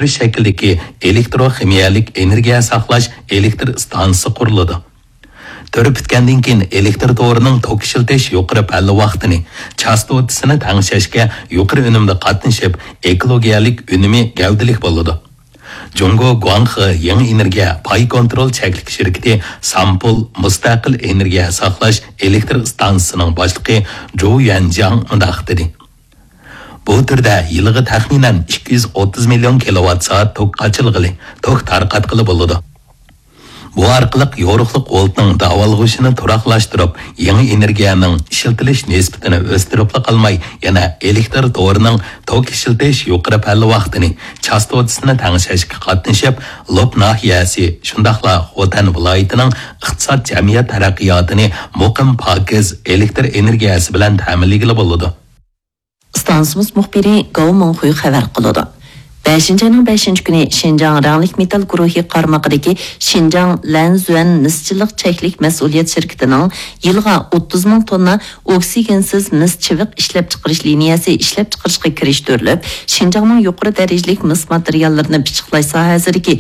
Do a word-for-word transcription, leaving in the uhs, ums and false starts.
شەكلىدىكى ئېلېكتروخىمىيەلىك ئېنېرگىيە ساقلاش ئېلېكتر ئىستانسىسى قۇرۇلىدۇ. تۈرى پۈتكەندىن كېيىن ئېلېكتر تورىنىڭ توك ئىشلىتىش يۇقىرى پەللە ۋاقتىنى، چاستوتىسىنى تەڭشەشكە يۇقىرى ئۈنۈمدە قاتنىشىپ، ئېكولوگىيەلىك ئۈنۈمى گەۋدىلىك بولىدۇ. جۇڭگو گۇاڭخې يېڭى ئېنېرگىيە پاي كونترول چەكلىك شىركىتى سامپول مۇستەقىل ئېنېرگىيە ساقلاش ئېلېكتر ئىستانسىسىنىڭ باشلىقى جۇ يۈەنجياڭ مۇنداق دېدى: بۇ تۈردە يىلىغا تەخمىنەن ئىككى يۈز ئوتتۇز مىليون كىلوۋات سائەت توك قاچىلىغىلى، توك تارقاتقىلى بولىدۇ. بۇ ئارقىلىق يورۇقلۇق ۋولتنىڭ داۋالغۇشىنى تۇراقلاشتۇرۇپ، يېڭى ئېنېرگىيەنىڭ ئىشلىتىلىش نىسبىتىنى ئۆستۈرۈپلا قالماي، يەنە ئېلېكتر تورىنىڭ توك ئىشلىتىش يۇقىرى پەللە ۋاقتىنى، چاستوتىسىنى تەڭشەشكە قاتنىشىپ، لوپ ناھىيەسى، شۇنداقلا خوتەن ۋىلايىتىنىڭ ئىقتىساد، جەمئىيەت تەرەققىياتىنى مۇقىم، پاكىز ئېلېكتر ئېنېرگىيەسى بىلەن تەمىنلىگىلى بولىدۇ. ئىستانسىمىز مۇخبىرى گاۋ مىڭخۇي خەۋەر قىلىدۇ. بەشىنچى ئاينىڭ بەشىنچى كۈنى شىنجاڭ رەڭلىك مېتال گۇرۇھى قارمىقىدىكى شىنجاڭ لەنزۈەن مىسچىلىق چەكلىك مەسئۇلىيەت شىركىتىنىڭ يىلىغا ئوتتۇز مىڭ توننا ئوكسىگېنسىز مىس چىۋىق ئىشلەپچىقىرىش لىنىيەسى ئىشلەپچىقىرىشقا كىرىشتۈرۈلۈپ، شىنجاڭنىڭ يۇقىرى دەرىجىلىك مىس ماتېرىياللىرىنى پىششىقلاش ساھەسىدىكى